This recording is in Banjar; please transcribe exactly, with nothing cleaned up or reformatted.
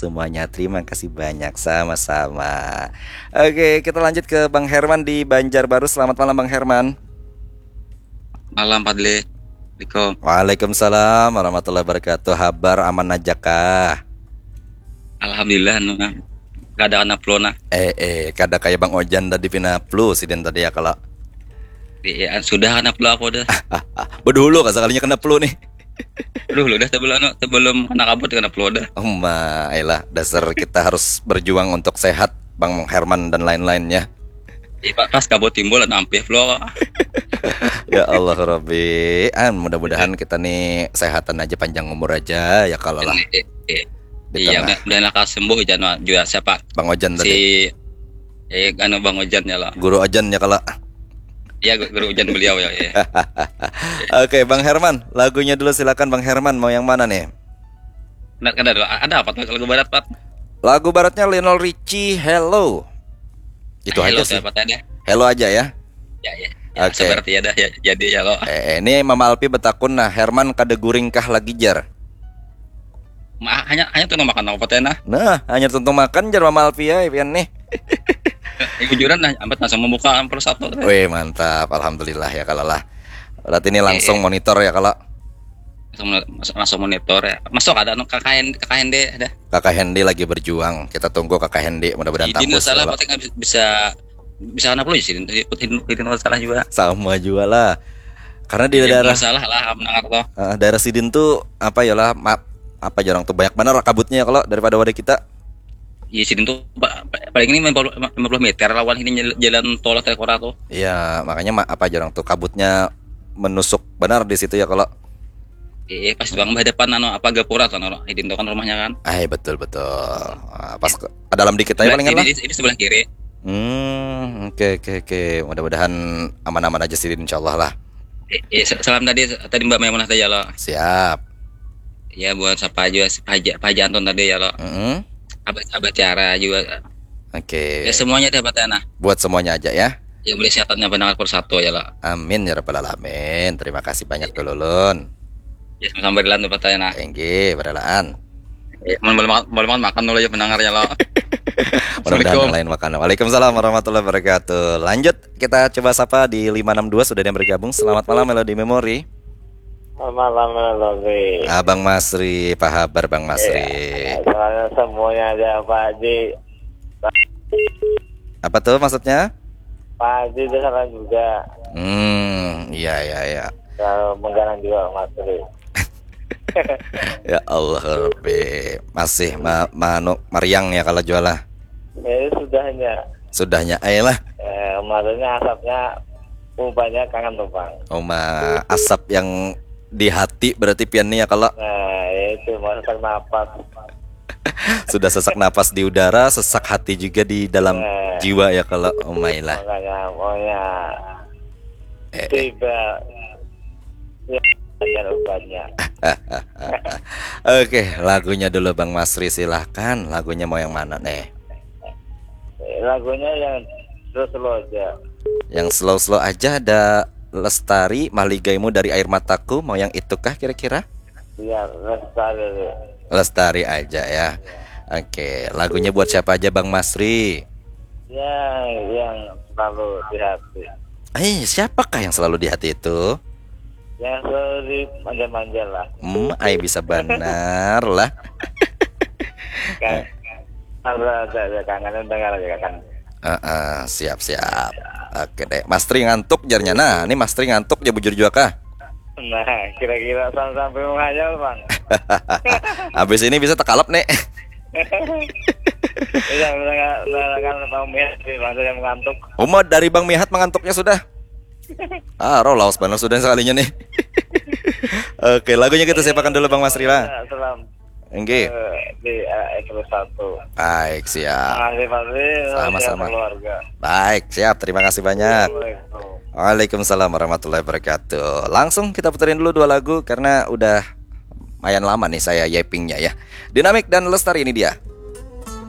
semuanya. Terima kasih banyak, sama-sama. Oke, kita lanjut ke Bang Herman di Banjarbaru. Selamat malam, Bang Herman. Malam, Fadli. Assalamualaikum. Waalaikumsalam warahmatullahi wabarakatuh. Habar aman aja kah? Alhamdulillah, nu nah. Kada kena flu nah. Eh, eh, kada kayak Bang Ojan tadi pina flu sidin tadi ya kalau. Iya, sudah kena flu aku dah. Bedulu kah sekalinya kena flu nih. Aduh, lu dah sebelum anu, sebelum kena kabut kena flu dah. Uma, ayolah, dasar kita harus berjuang untuk sehat, Bang Herman dan lain-lainnya. Iya, Pak, pas kabut timbul anu ampih flu. Ya Allah Rabbi, ah, mudah-mudahan kita nih sehatan aja, panjang umur aja ya kalau lah. Iya, Di iya, tengah. Mudah-mudahan lekas sembuh, jangan juga siapa Bang Ojan tadi. Si eh anu Bang Ojan ya lah. Guru Ojan ya kalau. Iya, gu- guru Ojan beliau ya. Iya. Oke, Bang Herman, lagunya dulu silakan, Bang Herman, mau yang mana nih? Nah, ada, ada, ada apa tuh lagu barat, Pak? Lagu baratnya Lionel Richie, Hello. Itu Hello aja sih. Siapa tadi? Hello aja ya. Ya, ya. Ya, Oke. Seperti ada ya, jadi ya lo. Eh, eh, ini Mama Alpi betakun, nah, Herman kada guring kah lagi, jar? Ma- hanya hanya tuh makan apa teh nah? Nah, hanya tuntung makan, jar Mama Alpi ya, pian nih. Ya, bujuran nah, ambat langsung membuka ampel satu teh. Wih, mantap, alhamdulillah ya kalau lah. Berarti ini langsung Eh, monitor ya kalau. Langsung, langsung monitor ya. Masuk ada anu K K N, K K N D ada. Kakak Hendy lagi berjuang. Kita tunggu Kakak Hendy, mudah-mudahan Jadi tangguh salah ya, Pak. Apa teh bisa bisa bisa anak lu sih? Jadi salah juga. Sama juga lah. Karena di Jadi daerah salah lah mendengar tuh. Eh, daerah sidin tuh apa ya lah, ma- apa jarang tuh, banyak benar kabutnya kalau daripada wadah kita. Iya, sidin tuh pa- pa- paling ini lima puluh, lima puluh meter lawan ini jel- jalan tol Telkora tuh. Iya, makanya ma- apa jarang tuh kabutnya menusuk benar di situ ya kalau. Eh, pas bang berhadapan anu apa gapura tuh, anu, sidin tuh kan rumahnya kan. Ay, betul, betul. Ah, pas ke, ke dalam dikit aja Sebelah palingan kiri, lah. Di, di sebelah kiri. Hmm, oke, oke, oke. Mudah-mudahan aman-aman aja sih, insyaallah lah. Eh, eh, sa- salam tadi tadi Mbak Maimunah tadi ya lo. Siap. Ya buat siapa aja, Pak Haji, Pak Haji Anton tadi ya lo. Mm-mm. Abah, Abah Tiara juga. Oke. Ya semuanya deh Pak Tana. Buat semuanya aja ya. Ya boleh sehatannya pendengar persatu ya lo. Amin ya rabbal alamin. Terima kasih banyak dulu, Lun. Ya sama-sama berlan tuh Pak Tana. Tinggi, berelaan. Ya, mau boleh makan, boleh makan, makan dulu ya pendengar ya lo. Mudah-mudahan Assalamualaikum. Yang lain makan. Waalaikumsalam warahmatullahi wabarakatuh. Lanjut, kita coba sapa di lima enam dua, sudah ada yang bergabung. Selamat malam, Melody Memory. Selamat malam, Melody. Abang Masri, apa kabar, Bang Masri? Soalnya semuanya ada Pak Haji. Apa tuh maksudnya? Pak Haji itu salam juga. Hmm, iya, iya, iya. Kalau menggalang juga Mas Tri. Ya Allah Rabbi, masih ma manu mariang ya kalau jualah. Ya, sudahnya. Sudahnya, ayolah. Eh, maksudnya asapnya ubahnya kangen tuh, Bang. Oma, asap yang di hati berarti pian nih ya kalau. Nah, ya itu mau sesak napas. Sudah sesak napas di udara, sesak hati juga di dalam Nah. Jiwa ya kalau, omailah. Makanya maunya Eh, eh. Tiba ya, dengan ubannya. Oke, lagunya dulu Bang Masri, silahkan. Lagunya mau yang mana nih? Lagunya yang slow-slow aja. Yang slow-slow aja, ada Lestari, Maligaimu dari Air Mataku. Mau yang itukah kira-kira? Iya, Lestari. Lestari aja ya. Oke, lagunya buat siapa aja Bang Masri? Ya, yang selalu di hati. Eh, siapakah yang selalu di hati itu? Yang selalu dimanja-manja lah. Hmm, ai bisa benar lah. Kan ada ada ada kangen, dengar aja kan. Heeh, siap siap. Oke deh, Mas Tri ngantuk jarnya. Nah, ini Mas Tri ngantuk ya, bujur juga kah? Nah, kira-kira sam- sampai menghayal, Bang. Habis ini bisa tekalap nih. Iya, mendengar- mendengarkan Bang Mihat di masa yang mengantuk. Uma, dari Bang Mihat mengantuknya sudah. Ah, roh laos benar sudah sekalinya nih. Oke, lagunya kita siapakan dulu Bang Masri lah. Ya, salam Enggih. eh, di eh, episode satu. Baik, siap. Makasih, Fadli. Sama-sama. Keluarga. Baik, siap. Terima kasih banyak. Assalamualaikum. Waalaikumsalam warahmatullahi wabarakatuh. Langsung kita puterin dulu dua lagu karena udah lumayan lama nih saya yapingnya ya. Dinamik dan Lestari, ini dia.